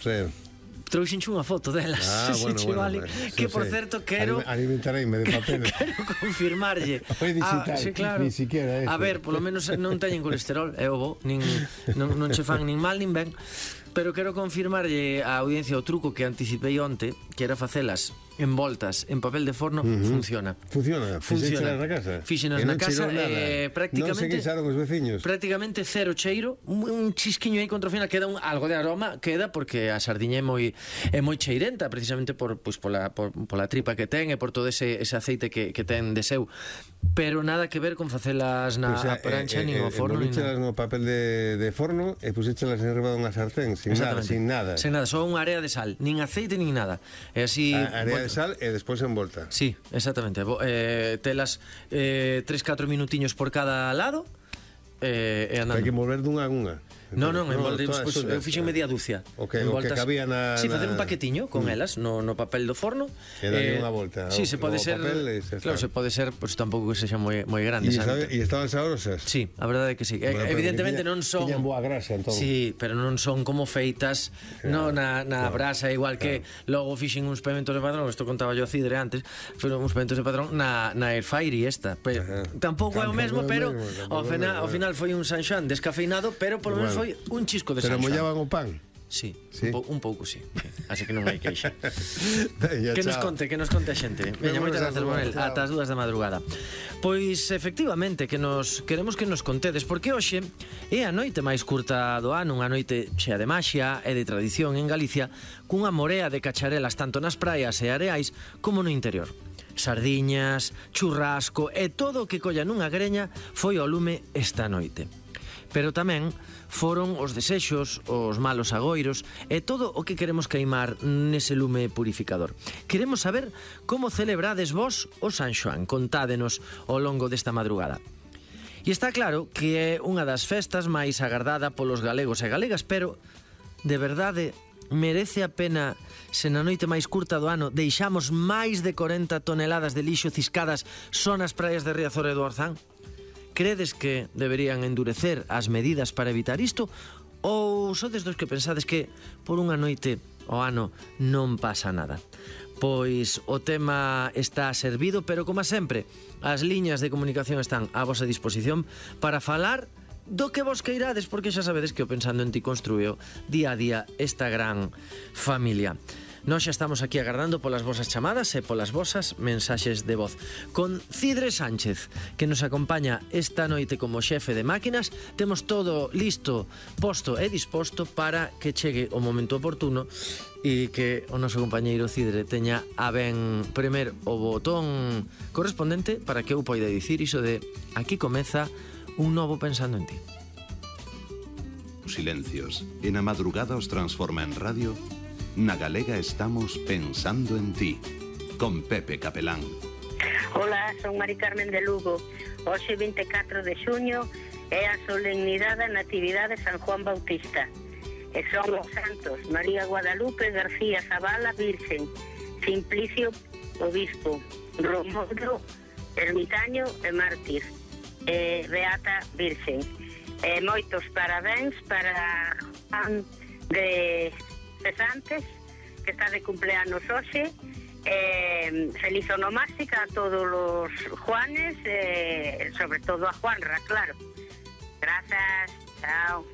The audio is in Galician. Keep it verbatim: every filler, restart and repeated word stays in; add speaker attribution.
Speaker 1: Sí.
Speaker 2: Trouxenche unha foto delas.
Speaker 1: Ah,
Speaker 2: se
Speaker 1: bueno,
Speaker 2: che
Speaker 1: bueno,
Speaker 2: vale.
Speaker 1: bueno,
Speaker 2: Que,
Speaker 1: sí,
Speaker 2: por
Speaker 1: sí.
Speaker 2: certo, quero...
Speaker 1: Alimentareime de papel.
Speaker 2: Quero confirmarlle.
Speaker 1: Foi digital,
Speaker 2: Ah, sí, claro.
Speaker 1: ni siquiera eso.
Speaker 2: A ver, polo menos non teñen colesterol, é o bo, nin, non, non che fan nin mal nin ben. Pero quero confirmarlle á audiencia o truco que anticipei onte, que era facelas envoltas en papel de forno. uh-huh. Funciona.
Speaker 1: Funciona.
Speaker 2: Funciona.
Speaker 1: Na casa.
Speaker 2: Fixenas na casa eh, prácticamente.
Speaker 1: Non se queixaron os veciños.
Speaker 2: Prácticamente cero cheiro, un, un chisquiño aí contra o final, queda un, algo de aroma, queda porque a sardiña é moi é moi cheirenta, precisamente por pois pola por, pola tripa que ten e por todo ese ese aceite que que ten de seu. Pero nada que ver con facelas na
Speaker 1: o sea,
Speaker 2: prancha
Speaker 1: eh,
Speaker 2: nin
Speaker 1: eh,
Speaker 2: ao forno nin
Speaker 1: nada. No papel de, de forno e puxéchelas enriba dunha sartén sin nada, sin nada.
Speaker 2: Sin nada, só unha area de sal, nin aceite nin nada. E así
Speaker 1: a, area
Speaker 2: bueno,
Speaker 1: de sal e despois envolta.
Speaker 2: Sí, exactamente. Eh, telas eh, tres catro minutiños por cada lado eh, e andando.
Speaker 1: Hai que mover dunha a unha.
Speaker 2: Non, non, envolver, no, pues, eu fixen media dúcia.
Speaker 1: O que, o que cabía na...
Speaker 2: Sí, facer
Speaker 1: na...
Speaker 2: un paquetiño con mm. elas no, no papel do forno.
Speaker 1: E darlle eh, unha volta.
Speaker 2: Sí, se pode ser...
Speaker 1: Papel, se
Speaker 2: claro, se pode ser, pues tampouco que sexa moi, moi grande.
Speaker 1: E, sabe, e estaban saborosas?
Speaker 2: Sí, a verdade é que sí. Bueno, evidentemente
Speaker 1: tiña,
Speaker 2: non son...
Speaker 1: Tiñan boa grasa, entón. Sí,
Speaker 2: pero non son como feitas claro, no, na, na claro, brasa, igual que claro. Logo fixen uns pementos de padrón, isto contaba yo a Cidre antes, foron uns pementos de padrón na, na airfire e esta. Pero, tampouco é o mesmo, pero ao final, ao final foi un San Xoán descafeinado, pero por lo menos foi un chisco de
Speaker 1: Pero mollaban o pan?
Speaker 2: Sí, ¿sí? Un, po, un pouco, sí. Así que non hai queixa.
Speaker 1: Veña,
Speaker 2: que nos conte, que nos conte a xente. Veña, moitas grazas, Manuel. Ata as dúas da madrugada. Pois, efectivamente, que nos queremos que nos contedes, porque hoxe é a noite máis curta do ano, unha noite chea de maxia e de tradición en Galicia, cunha morea de cacharelas tanto nas praias e areais como no interior. Sardiñas, churrasco e todo o que colla nunha greña foi ao lume esta noite. Pero tamén foron os desexos, os malos agoiros e todo o que queremos queimar nese lume purificador. Queremos saber como celebrades vos o San Xoán. Contádenos ao longo desta madrugada. E está claro que é unha das festas máis agardada polos galegos e galegas, pero, de verdade, merece a pena se na noite máis curta do ano deixamos máis de corenta toneladas de lixo ciscadas só nas praias de Riazor e do Orzán? Credes que deberían endurecer as medidas para evitar isto? Ou sodes dos que pensades que por unha noite ao ano non pasa nada? Pois o tema está servido, pero como sempre, as liñas de comunicación están a vosa disposición para falar do que vos queirades, porque xa sabedes que o Pensando en Ti construío día a día esta gran familia. Nós xa estamos aquí agardando polas vosas chamadas e polas vosas mensaxes de voz. Con Cidre Sánchez, que nos acompaña esta noite como xefe de máquinas, temos todo listo, posto e disposto para que chegue o momento oportuno e que o noso compañeiro Cidre teña a ben premer o botón correspondente para que eu poida dicir iso de aquí comeza un novo Pensando en Ti.
Speaker 3: Silencios. E na madrugada os transforma en radio. Na Galega estamos pensando en ti, con Pepe Capelán.
Speaker 4: Hola, son Mari Carmen de Lugo. Hoxe vinte e catro de xuño é a solemnidade da Natividade de San Juan Bautista. E son os santos María Guadalupe García Zavala, Virgen, Simplicio, Obispo, Romualdo, Ermitaño e Mártir, e Beata Virgen. E moitos parabéns para Juan de Cesantes, que está de cumpleanos hoxe. Eh, feliz onomástica a todos os Juanes, eh, sobre todo a Juanra, claro. Grazas, chao.